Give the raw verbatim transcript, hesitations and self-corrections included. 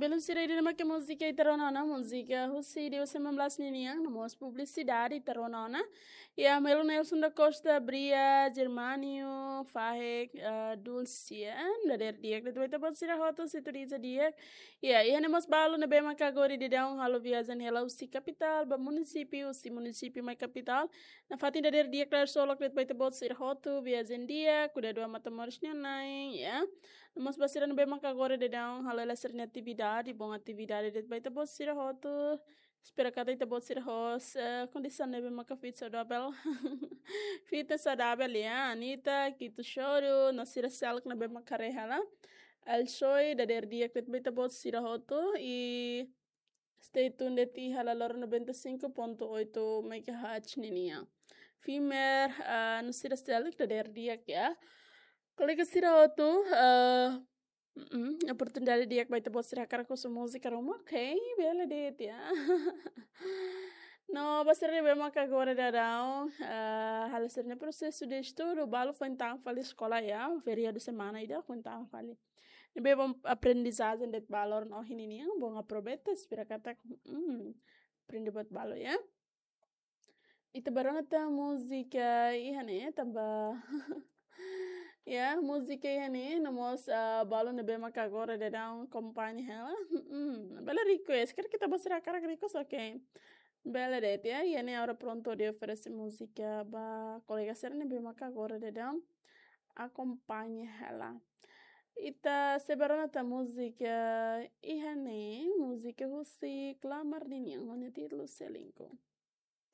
Belun sira, ida-ne'e mak múzika ita rona ona, múzika husi dua ribu sembilan belas ninian, no mós publisidade ita rona ona. Iha Melo Nelson da Costa, Bria, Germánio, Fahek, eh, Dulce, eh, dadeer di'ak de'it ba ita-boot sira hotu, sintonia di'ak. Iha, iha ne'e mós balu ne'ebé maka agora daudaun halo viajen hela husi kapitál ba munisípiu, husi munisípiu mai kapitál. Nafatin dadeer di'ak, dadeer solok de'it ba ita-boot sira hotu, viajen di'ak, kudadu ba Matamoros nia na'in, ya. No mós ba sira ne'ebé maka agora daudaun halo hela sira-nia atividade, bom atividade de'it ba ita-boot sira hotu. Espera katak ita-boot sira ho, eh, kondisaun ne'ebé maka fit, saudavel. Fit no saudavel, ya. Anita, Kito Choro, no sira seluk ne'ebé maka haree hela. Alsoi, dadeer di'ak de'it ba ita-boot sira hotu, i stay tuned de'it iha Lalor noventa e cinco ponto oito megahertz ninian. Fimer, ah, no sira seluk, dadeer di'ak, ya. Kolega sira hotu, ah, mm, oportunidade di'ak ba ita-boot sira hakarak husu múzika ruma, ok, bele de'it, ya. No ba sira ne'ebé maka agora daudaun, ah, halo sira-nia prosesu de estudu, balu foin tan fali eskola, ya, feriadu semana ida foin tan fali. Ne'ebé bom aprendizajen de'it ba loron ohin ninian, bom aproveita, espera katak, mm, aprende buat balu, ya. Ita bá rona tan múzika iha ne'e, tanba, ya, múzika iha ne'e, no mós, ah, balu ne'ebé maka agora daudaun akompaña hela. Mm, bele request, karik ita-boot sira hakarak request, ok. Bele de'it, ya, iha ne'e Aura Pronto Audio oferese múzika ba kolega sira ne'ebé maka agora daudaun akompaña hela. Ita sei bá rona tan múzika iha ne'e, múzika husi Klamar ninian, ho nia títulu Selingkuh.